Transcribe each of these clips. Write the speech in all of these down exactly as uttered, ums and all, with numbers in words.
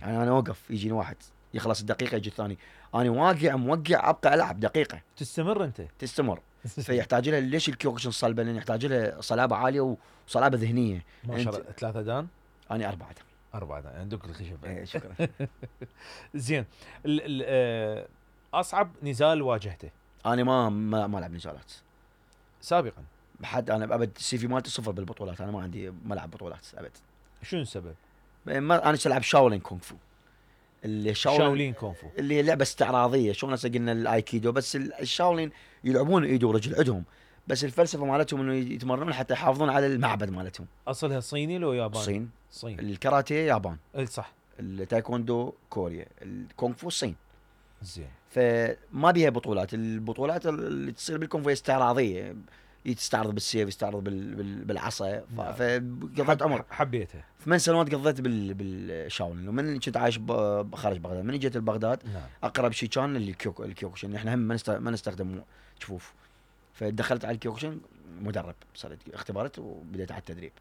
يعني انا اوقف يجيني واحد يخلص الدقيقه يجي الثاني، انا واقع موقع ابقى العب دقيقه تستمر انت تستمر. فيحتاج لها ليش الكيوكوشن صلبه؟ لان يحتاج لها صلابه عاليه وصلابه ذهنيه. ما شاء الله. ثلاثة دان انا اربعه دان. اربعة دان عندك الخشب. ايه شكرا. زين. ال ال آه اصعب نزال واجهته؟ انا ما ما, ما العب نزالات سابقا. حد انا ابد السي في مالتي صفر بالبطولات، انا ما عندي ما العب بطولات ابد. شنو السبب؟ ما انا العب شاولين كونغ فو. اللي شاولين, شاولين كونغ فو اللي هي لعبه استعراضيه، شلون هسه قلنا الايكيدو، بس الشاولين يلعبون ايد ورجل عندهم، بس الفلسفه مالتهم انه يتمرنون حتى يحافظون على المعبد مالتهم. اصلها صيني لو ياباني؟ الصين. صين. الكاراتيه يابان. اي صح. التايكوندو كوريا. الكونغ فو الصين. زين. فما بيها بطولات، البطولات اللي تصير بالكونغ فو استعراضيه، يستعرض بالسيف، يستعرض بال... بال... بالعصا. فقضيت عمر حبيتها. ثمان سنوات قضيت بال... بالشاولين. ومن كنت عايش ب... خارج بغداد، من جيت لبغداد نعم. اقرب شيء كان الكيوك... الكيوكوشن. احنا هم ما, نست... ما نستخدم جفوف، فدخلت على الكيوكوشن مدرب، صارت اختبارات وبديت على التدريب.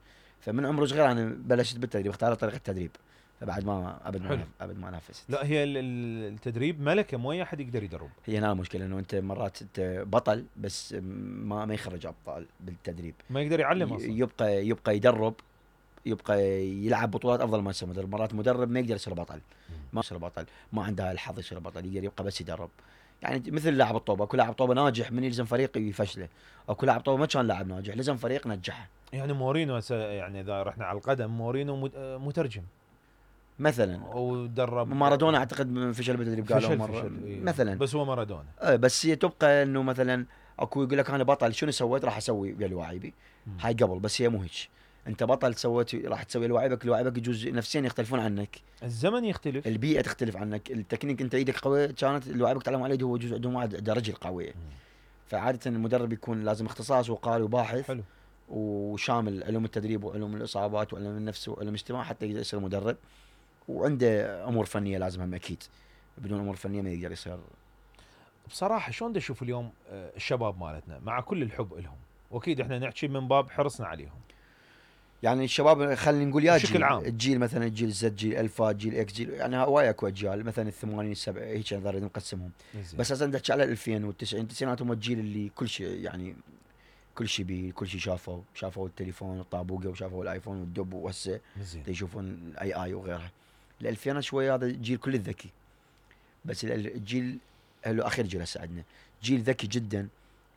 فمن عمر صغير انا بلشت بالتدريب، اختارت طريقه التدريب، فبعد ما ابد ما ابد ما نافست. لا هي التدريب ملكه، مو اي احد يقدر يدرب. هي هنا المشكله، انه انت مرات انت بطل بس ما ما يخرج ابطال بالتدريب، ما يقدر يعلم اصلا. يبقى يبقى يدرب، يبقى يلعب بطولات افضل ما يصير مدرب. مرات مدرب ما يقدر يصير بطل، ما يصير بطل، ما عنده الحظ يصير بطل، يقدر يبقى بس يدرب. يعني مثل لاعب الطوبه، كل لاعب طوبه ناجح من يلزم فريق يفشله، او كل لاعب طوبه ما كان لاعب ناجح لزم فريق نجحه. يعني مورينو يعني اذا رحنا على القدم، مورينو مترجم مثلا، ودرب مارادونا اعتقد فشل بالتدريب قالوا مره فشل إيه. مثلا، بس هو مارادونا. اه بس هي تبقى انه مثلا اكو يقول لك انا بطل شنو سويت راح اسوي ويا لواعيبي، هاي قبل. بس هي مو هيك، انت بطل سويت راح تسوي لواعيبك، لواعيبك يجوز نفسيا يختلفون عنك، الزمن يختلف، البيئه تختلف عنك، التكنيك انت ايدك قويه كانت لواعيبك تعلموا على يده، هو يجوز عندهم واحد عنده رجل قويه. فعاده المدرب يكون لازم اختصاص وقاري وباحث. حلو. وشامل علوم التدريب وعلوم الاصابات وعلوم النفس وعلوم الاجتماع حتى يقدر يصير مدرب. وعنده امور فنيه لازم هم اكيد، بدون امور فنيه ما يقدر يصير. بصراحه شلون بدي اشوف اليوم الشباب مالتنا مع كل الحب لهم، واكيد احنا نحكي من باب حرصنا عليهم، يعني الشباب خلينا نقول يا بشكل جيل عام. الجيل مثلا الجيل زد، جيل الفا، جيل اكس، جيل يعني هواي اكو اجيال، مثلا الثمانين السبع هيك نقدر نقسمهم. بس هسه نحكي على الألفين والتسعين، التسعينات هم الجيل اللي كل شيء يعني كل شيء بي كل شيء شافوا، شافوا التليفون والطابوقه وشافوا الايفون والدب، وهسه يشوفون الاي اي وغيرها. الألفينات شويه هذا الجيل كل الذكي، بس الجيل الاخير جيل هسه عندنا جيل ذكي جدا،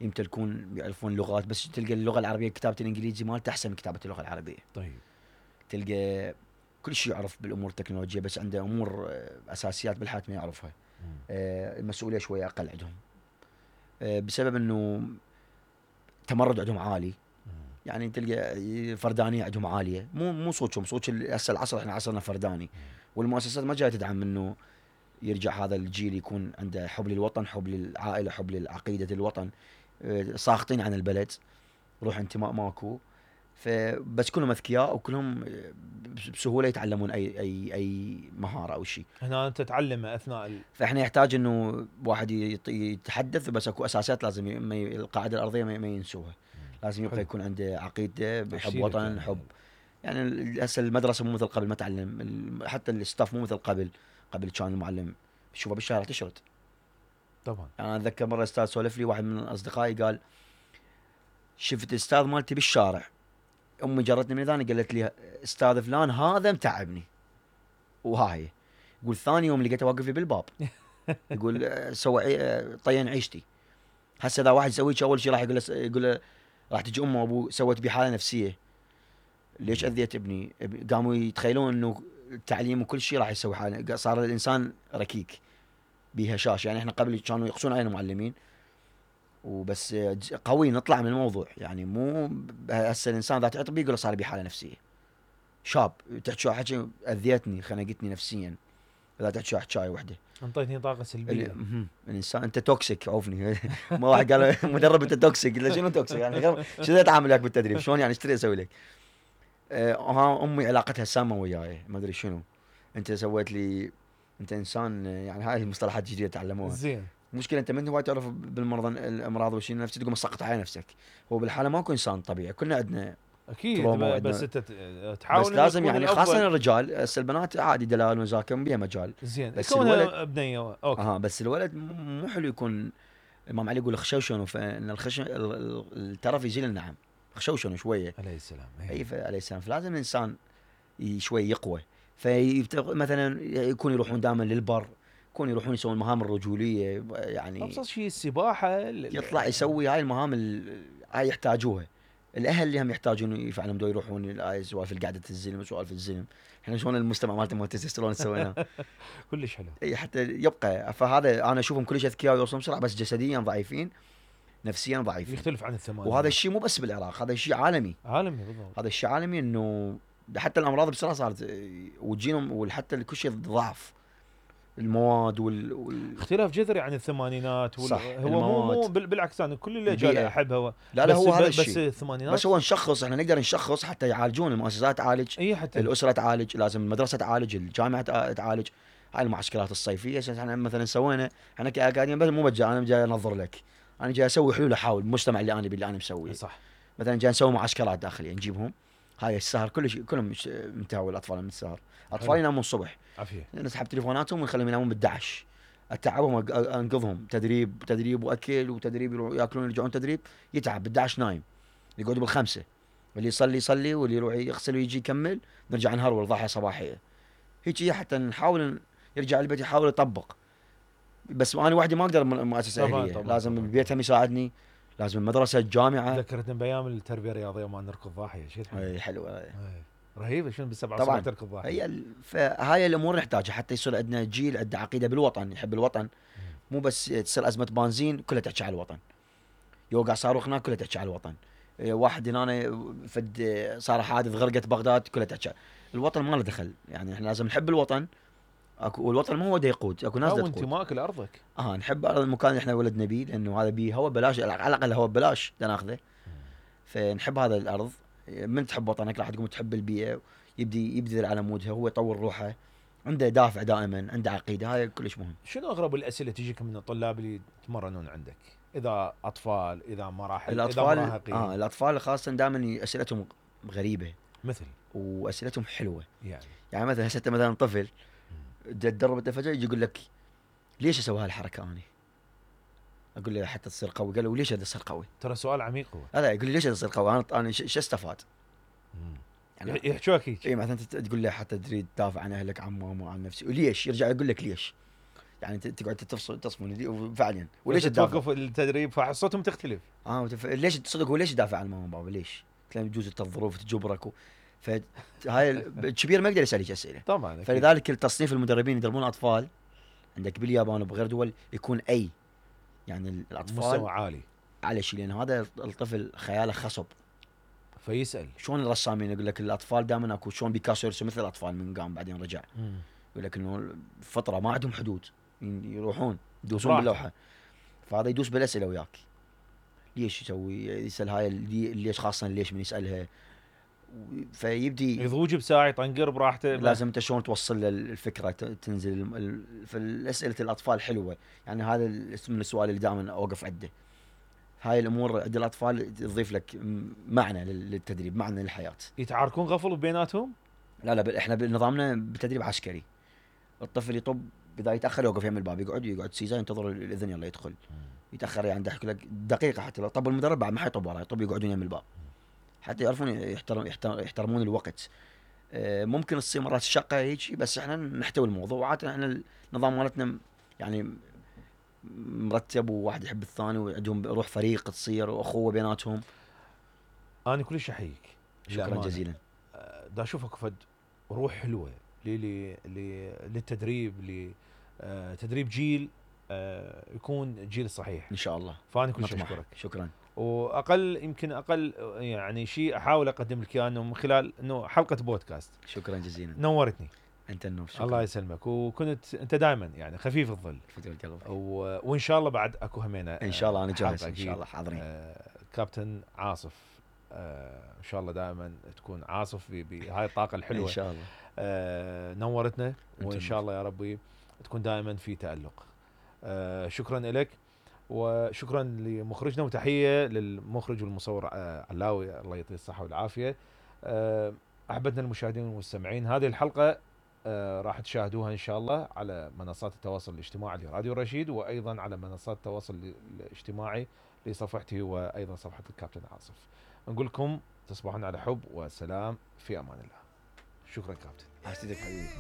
يمتلكون يعرفون اللغات، بس تلقى اللغه العربيه كتابه الانجليزي مالته احسن من كتابه اللغه العربيه. طيب. تلقى كل شيء يعرف بالامور التكنولوجيه، بس عنده امور اساسيات بالحياه ما يعرفها. آه المسؤوليه شويه اقل عندهم، آه بسبب انه تمرد عندهم عالي. يعني تلقى فردانيه عندهم عاليه، مو مو صوتهم صوت هسه العصر، احنا عصرنا فرداني، والمؤسسات ما جايه تدعم انه يرجع هذا الجيل يكون عنده حب للوطن، حب للعائله، حب للعقيده الوطن. ساخطين عن البلد، روح انتماء ماكو. فبس كلهم اذكياء وكلهم بسهوله يتعلمون اي اي اي مهاره او شيء. هنا انت تتعلم اثناء ال... فاحنا يحتاج انه واحد يتحدث، بس اكو اساسات لازم ي... القاعده الارضيه ما ينسوها. لازم يبقى يكون عنده عقيده بحب وطن، حب. يعني هسه المدرسه مو مثل قبل، ما تعلم حتى الستاف مو مثل قبل. قبل كان المعلم تشوفه بالشارع تشرد. طبعا. يعني انا اتذكر مره استاذ سولف لي، واحد من اصدقائي قال شفت الاستاذ مالتي بالشارع، امي جرتني من ثاني قالت لي استاذ فلان هذا متعبني، وهاي يقول ثاني يوم لقيته واقف لي بالباب يقول سوى طين عيشتي. هسه اذا واحد يسوي اول شيء راح يقول له يقول له راح تجي امه وابوه سوت بي حاله نفسيه، ليش اذيت ابني؟ قاموا يتخيلون انه التعليم وكل شيء راح يسوي حاله، صار الانسان ركيك بهشاش. يعني احنا قبل كانوا يقصون علينا معلمين وبس قوي نطلع من الموضوع، يعني مو هسه الانسان اذا تعطي بيه يقول صار بي حاله نفسيه. شاب تحكي حكي اذيتني خنقتني نفسيا، اذا تحكي حكايه وحده انطيتني طاقه سلبيه. الانسان انت توكسيك عوفني. ما واحد قال مدرب انت توكسيك، قلت له شنو توكسيك يعني غير شنو اتعامل وياك بالتدريب شلون يعني ايش تريد اسوي لك؟ أه ها امي علاقتها سامه وياي ما ادري شنو، انت سويت لي انت انسان، يعني هاي المصطلحات الجديده تعلموها. زين. مشكلة انت من هواي تعرف بالمرض الامراض والشيء النفسي تقوم مسقط على نفسك. هو بالحاله ماكو انسان طبيعي، كلنا عندنا اكيد تروما ب- بس وعندنا- انت ت- تحاول بس إنه لازم تكون يعني الأفضل. خاصه الرجال. هسه البنات عادي دلال وزاكم بيها مجال. زين بس كونها الولد- بنيه اوكي. اها بس الولد م- مو حلو يكون. الامام علي يقول خشوشن، فان الخشن ال- ال- الترف يزيل النعم. خشوشن شويه. عليه السلام. اي ف- عليه السلام. فلازم الانسان ي- شوي يقوى. في مثلا يكون يروحون دائما للبر، يكون يروحون يسوون المهام الرجوليه يعني. ابسط شيء السباحه ال- يطلع يسوي هاي المهام ال- هاي يحتاجوها. الاهل اللي هم يحتاجون يفعلون دو يروحون هاي سوالف قعده الزلم وسوالف الزلم. احنا شلون المجتمع مالته مال التستوستيرون سويناه. كلش حلو. اي حتى يبقى. فهذا انا اشوفهم كلش اذكياء ويوصلون بسرعه، بس جسديا ضعيفين، نفسيا ضعيفين. يختلف عن الثمانية. وهذا الشيء مو بس بالعراق، هذا الشيء عالمي. عالمي بالضبط. هذا الشيء عالمي انه حتى الامراض بسرعه صارت وتجينهم، وحتى كل شيء ضعف المواد وال, وال... اختلاف جذري عن الثمانينات وال... صح، هو مو مو المواد. بال- بالعكس انا كل الاجيال البيئة. احبها و... لا لا بس هو هذا ب- الشيء. بس الثمانينات بس هو نشخص، احنا نقدر نشخص حتى يعالجون. المؤسسات تعالج، اي حتى الاسره تعالج، لازم المدرسه تعالج، الجامعه تع- تعالج. هاي المعسكرات الصيفيه احنا مثلا سوينا، احنا كاكاديميه بس مو بجا انا جاي انظر لك، انا جاي اسوي حلول، احاول بالمجتمع اللي انا باللي انا مسويه. صح. مثلا جاي نسوي معسكرات داخليه نجيبهم. هاي السهر كل شيء كلهم مش- منتهوا الاطفال من السهر. اطفال حلو. ينامون الصبح، عافيه. نسحب تليفوناتهم ونخليهم ينامون بالدعش. اتعبهم أق- انقذهم تدريب تدريب واكل وتدريب، يروحوا ياكلون يرجعون تدريب. يتعب بالدعش نايم، يقعدوا بالخمسه، واللي يصلي يصلي واللي يروح يغسل ويجي يكمل، نرجع نهرول ضاحيه صباحيه. هيك هي حتى نحاول يرجع البيت يحاول يطبق. بس انا وحدي ما اقدر من مؤسسه طبعاً، اهليه، طبعاً، لازم طبعاً. البيت هم يساعدني، لازم المدرسه الجامعه. ذكرتني بايام التربيه الرياضيه ما نركض ضاحيه شيء حلو. هاي حلوه. إيه. رهيبه شنو بالسبعه طبعاً. الصبح تركض ضاحيه. هي ال- فهاي الامور نحتاجها حتى يصير عندنا جيل عنده عقيده بالوطن، يحب الوطن. مو بس تصير ازمه بنزين كلها تحكي على الوطن، يوقع صاروخ هناك كلها تحكي على الوطن. إيه، واحد هنا فد صار حادث غرقت بغداد كلها تحكي على- الوطن ما له دخل. يعني احنا لازم نحب الوطن. اكو والوطن مو هو دا يقود، اكو ناس دا او تقود. انتمائك لارضك. اه نحب المكان اللي احنا ولدنا بيه، لانه هذا بيه هو ببلاش، على الاقل هو ببلاش دا ناخذه. فنحب هذا الارض. من تحب وطنك راح تقوم تحب البيئه، يبدي يبذل على مودها، هو يطور روحه، عنده دافع دائما، عنده عقيده. هاي كلش مهم. شنو اغرب الاسئله تجيك من الطلاب اللي يتمرنون عندك؟ اذا اطفال، اذا مراحل، الاطفال اذا مراهقين. اه الاطفال خاصه دائما اسئلتهم غريبه مثل واسئلتهم حلوه. يعني يعني مثلا هسه مثلا طفل تدرب انت فجاه يجي يقول لك ليش اسوي هالحركه انا؟ اقول له حتى تصير قوي. قال له وليش هذا تصير قوي؟ ترى سؤال عميق هو. هذا يقول لي ليش هذا تصير قوي؟ انا انا شو استفاد؟ يعني يح- يحجوك هيك. اي مثلا انت تقول له حتى تريد تدافع عن اهلك، عن ماما، عن نفسي، وليش؟ يرجع يقول لك ليش؟ يعني انت تقعد تفصل تصفن فعلا وليش وليش تدافع؟ توقف التدريب فحصتهم تختلف. اه وتف... ليش تصدق هو ليش يدافع عن ماما وبابا؟ ليش؟ تلاقي يجوز انت الظروف تجبرك و... فهاي ال- الكبير ما يقدر يسالك اسئله. طبعا أكيد. فلذلك التصنيف المدربين يدربون الاطفال عندك باليابان وبغير دول يكون اي، يعني الاطفال مستوى عالي على شيء، لان هذا الطفل خياله خصب. فيسال. شلون الرسامين يقول لك الاطفال دائما اكو، شلون بيكاسو يرسم مثل الاطفال من قام بعدين رجع، يقول لك انه الفطره ما عندهم حدود، يروحون يدوسون براحته. باللوحه. فهذا يدوس بالاسئله وياك، ليش يسوي؟ يسال هاي اللي- ليش، خاصه ليش من يسالها، فيبدي يضوج بساعه يطنقر براحته. لازم انت شلون توصل له الفكره، ت- تنزل الم- ال- فالاسئله الاطفال حلوه. يعني هذا ال- من السؤال اللي دائما اوقف عنده. هاي الامور عند الاطفال تضيف لك م- معنى لل- للتدريب، معنى للحياه. يتعاركون غفل بيناتهم. لا لا ب- احنا بنظامنا بتدريب عسكري. الطفل يطب اذا يتاخر يوقف يم الباب، يقعد يقعد سيزا ينتظر الاذن يلا يدخل. يتاخر يعني يحكي لك دقيقه، حتى لو طب المدرب بعد ما حيطب وراه، يطب يقعدون يم الباب حتى يعرفون يحترم يحترم يحترمون الوقت. آه، ممكن تصير مرات الشقه هيك، بس احنا نحتوي الموضوع. وعاده احنا النظام مالتنا يعني مرتب، وواحد يحب الثاني، وعندهم روح فريق تصير واخوه بيناتهم. انا كلش احييك. شكرا للأمانة. جزيلا. آه، دا اشوفك فد روح حلوه لي لي لي للتدريب، لتدريب جيل آه، يكون الجيل الصحيح. ان شاء الله فانا كلش نطمح. اشكرك. شكرا. واقل يمكن اقل يعني شيء احاول اقدم لك اياه انه من خلال انه حلقه بودكاست. شكرا جزيلا. نورتني. انت النور. شكرا. الله يسلمك. وكنت انت دائما يعني خفيف الظل. فدوى القلب. و... وان شاء الله بعد اكو همينه ان شاء الله انا جاهز. حلقة ان شاء أكيد. الله حاضرين. آه كابتن عاصف آه ان شاء الله دائما تكون عاصف ب- بهاي الطاقه الحلوه. ان شاء الله. آه نورتنا. وان أنتم شاء الله يا ربي تكون دائما في تالق. آه شكرا لك. وشكرا لمخرجنا، وتحيه للمخرج والمصور آه علاوي الله يعطيه الصحه والعافيه. آه، احبتنا المشاهدين والمستمعين، هذه الحلقه آه، راح تشاهدوها ان شاء الله على منصات التواصل الاجتماعي لراديو رشيد، وايضا على منصات التواصل الاجتماعي لصفحتي وايضا صفحه الكابتن عاصف. نقول لكم تصبحون على حب وسلام، في امان الله. شكرا كابتن. حسيتك حبيبي.